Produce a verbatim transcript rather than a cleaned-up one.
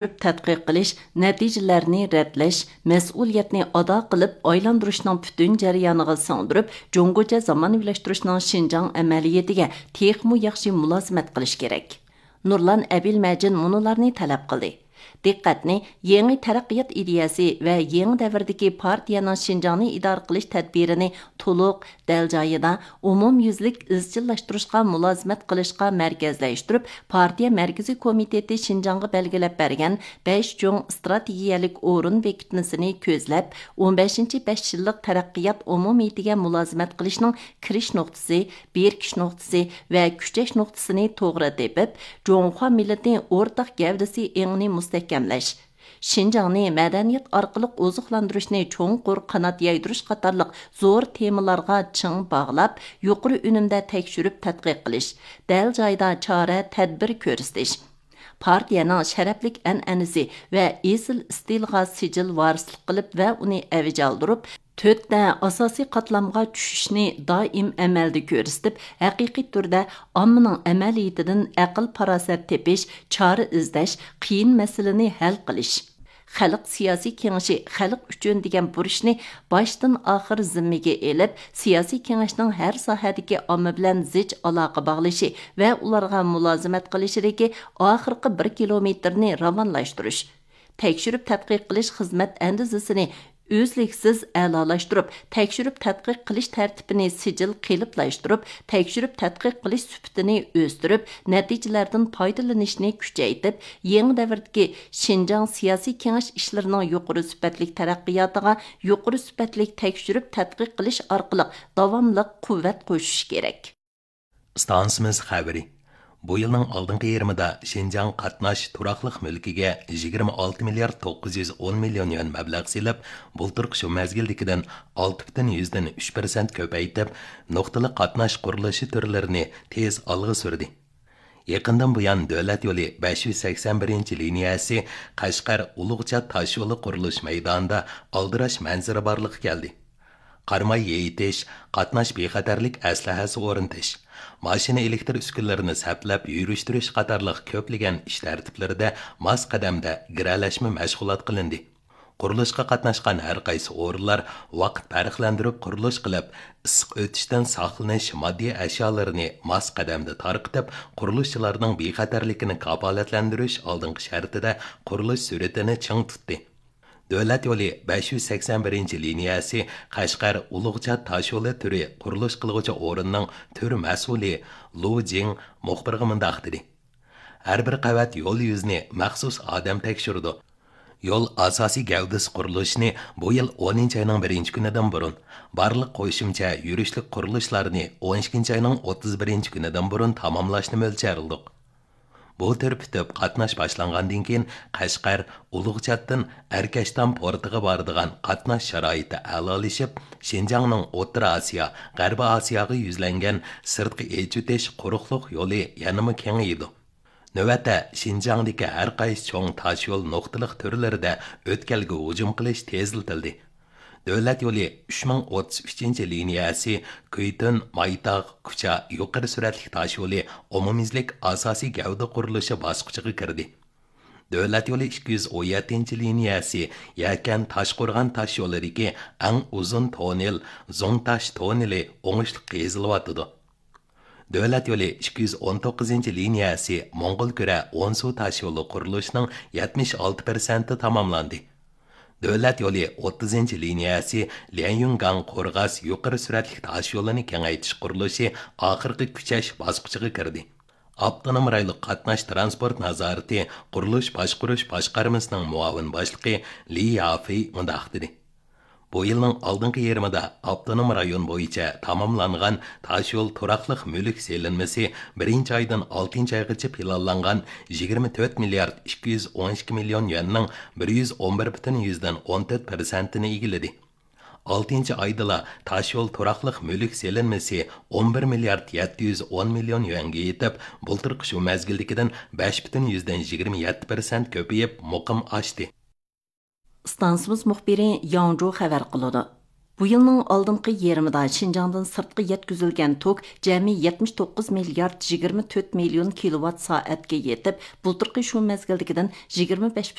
تەتقىق قىلىش، نەتىجىلەرنى رەتلەش، مەسئۇلىيەتنى ئادا قىلىپ، ئايلاندۇرۇشنىڭ پۈتۈن جەريانىغا سىڭدۈرۈپ، جۇڭگوچە زامانىۋىلاشتۇرۇشنىڭ شىنجاڭ ئەمەلىيىتىگە تېخىمۇ ياخشى مۇلازىمەت قىلىش كېرەك. نۇرلان ئەبىلمەجىن مۇنۇلارنى تەلەپ قىلدى. دىققەتنى يېڭى تەرەققىيات ئىدىيەسى ۋە يېڭى دەۋردىكى پارتىيەنىڭ شىنجاڭنى ئىدارە قىلىش تەدبىرىنى تولۇق، دەل جايىدا، ئومۇميۈزلۈك ئىزچىللاشتۇرۇشقا مۇلازىمەت قىلىشقا مەركەزلەشتۈرۈپ، پارتىيە مەركىزىي كومىتېتى شىنجاڭغا بەلگىلەپ بەرگەن بەش چوڭ ئىستراتېگىيەلىك ئورۇن بېكىتمىسىنى كۆزلەپ، ئون بەشىنچى بەش يىللىق تەرەققىيات ئومۇمىيىتىگە مۇلازىمەت قىلىشنىڭ كىرىش نۇقتىسى، بېكىش نۇقتىسى ۋە كۈچەش نۇقتىسىنى توغرا تېپىپ، جۇڭخۇا مىللىتى ئورتاق گەۋدىسى ئېڭىنى مۇستەھكەملەش، شىنجاڭنى مەدەنىيەت ئارقىلىق ئوزۇقلاندۇرۇشنى چوڭقۇر قانات يايدۇرۇش قاتارلىق زور تېمىلارغا چىڭ باغلاپ، يۇقىرى ئۈنۈمدە تەكشۈرۈپ تەتقىق قىلىش، دەل جايىدا چارە، تەدبىر كۆرسىتىش، پارتىيەنىڭ شەرەپلىك ئەنئەنىسى ۋە ئېسىل ئىستىلىغا سىجىل ۋارىسلىق قىلىپ ۋە ئۇنى ئەۋج ئالدۇرۇپ، تۆتتە ئاساسىي قاتلامغا چۈشۈشنى دائىم ئەمەلدە كۆرسىتىپ، ھەقىقىي تۈردە ئاممىنىڭ ئەمەلىيىتىدىن ئەقىل-پاراسەت تېپىش، چارە ئىزدەش، قىيىن مەسىلىنى ھەل قىلىش. خەلق سىياسىي كېڭىشى خەلق ئۈچۈن دېگەن بۇرچنى باشتىن ئاخىر زىممىگە ئېلىپ، سىياسىي كېڭەشنىڭ ھەر ساھەدىكى ئامما بىلەن زىچ ئالاقە باغلىشى ۋە ئۇلارغا مۇلازىمەت قىلىشىدىكى ئاخىرقى بىر كىلومېتىرنى راۋانلاشتۇرۇش، تەكشۈرۈپ تەتقىق قىلىش خىزمەت ئەندىزىسىنى ئۈزلۈكسىز ئەلالاشتۇرۇپ، تەكشۈرۈپ تەتقىق قىلىش تەرتىپىنى سىجىل قېلىپلاشتۇرۇپ، تەكشۈرۈپ تەتقىق قىلىش سۈپىتىنى ئۆستۈرۈپ، نەتىجىلەردىن پايدىلىنىشنى كۈچەيتىپ، يېڭى دەۋردىكى شىنجاڭ سىياسىي كېڭەش ئىشلىرىنىڭ يۇقىرى سۈپەتلىك تەرەققىياتىغا يۇقىرى سۈپەتلىك تەكشۈرۈپ تەتقىق قىلىش ئارقىلىق داۋاملىق قۇۋۋەت قوشۇش كېرەك. ئىستانسىمىز خەۋىرى. بۇ يىلنىڭ ئالدىنقى يېرىمىدا شىنجاڭ قاتناش تۇراقلىق مۈلكىگە يىگىرمە ئالتە مىليارد توققۇز يۈز ئون مىليون يۈەن مەبلەغ سېلىپ، بۇلتۇرقى شۇ مەزگىلدىكىدىن ئالتە پۈتۈن يۈزدىن ئۈچ پىرسەنت كۆپەيتىپ، نۇقتىلىق قاتناش قۇرۇلۇشى تۈرلىرىنى تېز ئالغا سۈردى. يېقىندىن بۇيان، دۆلەت يولى بەش يۈز سەكسەن بىرىنچى لىنىيەسى قەشقەر ئۇلۇغچات تاشيولى قۇرۇلۇش مەيدانىدا ئالدىراش مەنزىرە بارلىققا كەلدى. قاراماي يېيىتىش، قاتناش بىخەتەرلىك ئەسلىھەسى ئورنىتىش، ماشىنا ئېلېكتر ئۈسكۈنىلىرىنى سەپلەپ يۈرۈشتۈرۈش قاتارلىق كۆپلىگەن ئىش تەرتىپلىرىدە ماس قەدەمدە گىرەلەشمە مەشغۇلات قىلىندى. قۇرۇلۇشقا قاتناشقان ھەر قايسى ئورۇنلار ۋاقىت پەرقلەندۈرۈپ قۇرۇلۇش قىلىپ، ئىسسىق ئۆتۈشتىن ساقلىنىش ماددىي ئەشيالىرىنى ماس قەدەمدە تارقىتىپ، قۇرۇلۇشچىلارنىڭ بىخەتەرلىكىنى كاپالەتلەندۈرۈش ئالدىنقى شەرتىدە قۇرۇلۇش سۈرئىتىنى چىڭ تۇتتى. دۆلەت يولى بەش يۈز سەكسەن بىرىنچى لىنىيەسى قەشقەر ئۇلۇغچات تاشيولى تۈرى قۇرۇلۇش قىلغۇچى ئورۇننىڭ تۈر مەسئۇلى لۇ جىڭ مۇخبىرغا مۇنداق دېدى: ھەر بىر قەۋەت يول يۈزىنى مەخسۇس ئادەم تەكشۈرىدۇ. يول ئاساسىي گەۋدىسى قۇرۇلۇشىنى بۇ يىل ئونىنچى ئاينىڭ بىرىنچى كۈنىدىن بۇرۇن، بارلىق قوشۇمچە يۈرۈشلۈك قۇرۇلۇشلارنى ئون ئىككىنچى ئاينىڭ ئوتتۇز بىرىنچى كۈنىدىن بۇرۇن تاماملاشنى مۆلچەرلىدۇق. بۇ تۈر پۈتۈپ قاتناش باشلانغاندىن كېيىن، قەشقەر ئۇلۇغچاتتىن ئەركەشتام پورتىغا بارىدىغان قاتناش شارائىتى ئەلالىشىپ، شىنجاڭنىڭ ئوتتۇرا ئاسىيا، غەربىي ئاسىياغا يۈزلەنگەن سىرتقا ئېچىۋېتىش قۇرۇقلۇق يولى يەنىمۇ كېڭىيىدۇ. نۆۋەتتە، شىنجاڭدىكى ھەر قايسى چوڭ تاشيول نۇقتىلىق تۈرلىرىدە ئۆتكەلگە ھۇجۇم قىلىش تېزلىتىلدى. دۆلەت يولى ئۈچ مىڭ ئوتتۇز ئۈچىنچى لىنىيەسى كۈيتۈن، مايتاغ، كۇچا يۇقىرى سۈرئەتلىك تاشيولى ئومۇميۈزلۈك ئاساسىي گەۋدە قۇرۇلۇشى باسقۇچىغا كىردى. دۆلەت يولى ئىككى يۈز ئون يەتتىنچى لىنىيەسى يەكەن، تاشقورغان تاشيولىدىكى ئەڭ ئۇزۇن توننېل، زۇڭتاش توننېلى ئوڭۇشلۇق قېزىلىۋاتىدۇ. دۆلەت يولى ئىككى يۈز ئون توققۇزىنچى لىنىيەسى موڭغۇلكۈرە ئونسۇ تاشيولى قۇرۇلۇشىنىڭ يەتمىش ئالتە پىرسەنتى تاماملاندى. دۆلەت يولى ئوتتۇزىنچى لىنىيەسى ليەنيۈنگاڭ قورغاس يۇقىرى سۈرئەتلىك تاشيولىنى كېڭەيتىش قۇرۇلۇشى ئاخىرقى كۈچەش باسقۇچىغا كىردى. ئاپتونوم رايونلۇق قاتناش تىرانسپورت نازارىتى قۇرۇلۇش باشقۇرۇش باشقارمىسىنىڭ مۇئاۋىن باشلىقى لى يافېي مۇنداق دېدى: بۇ يىلنىڭ ئالدىنقى يېرىمىدا ئاپتونوم رايون بويىچە تاماملانغان تاشيول تۇراقلىق مۈلۈك سېلىنمىسى بىرىنچى ئايدىن ئالتىنچى ئايغىچە پىلانلانغان يىگىرمە تۆت مىليارد ئىككى يۈز ئون ئىككى مىليون يۈەننىڭ بىر يۈز ئون بىر پۈتۈن يۈزدىن ئون تۆت پىرسەنتىنى ئىگىلىدى. ئالتىنچى ئايدىلا تاشيول تۇراقلىق مۈلۈك سېلىنمىسى ئون بىر مىليارد يەتتە يۈز ئون مىليون يۈەنگە يېتىپ، بۇلتۇرقى شۇ مەزگىلدىكىدىن بەش پۈتۈن يۈزدىن يىگىرمە يەتتە پىرسەنت كۆپىيىپ، مۇقىم ئاشتى. ئىستانسىمىز مۇخبىرى ياڭجۇ خەۋەر قىلىدۇ. بۇ يىلنىڭ ئالدىنقى يېرىمىدا شىنجاڭدىن سىرتقا يەتكۈزۈلگەن توك جەمئىي يەتمىش توققۇز مىليارد يىگىرمە تۆت مىليون كىلوۋات سائەتكە يېتىپ، بۇلتۇرقى شۇ مەزگىلدىكىدىن يىگىرمە بەش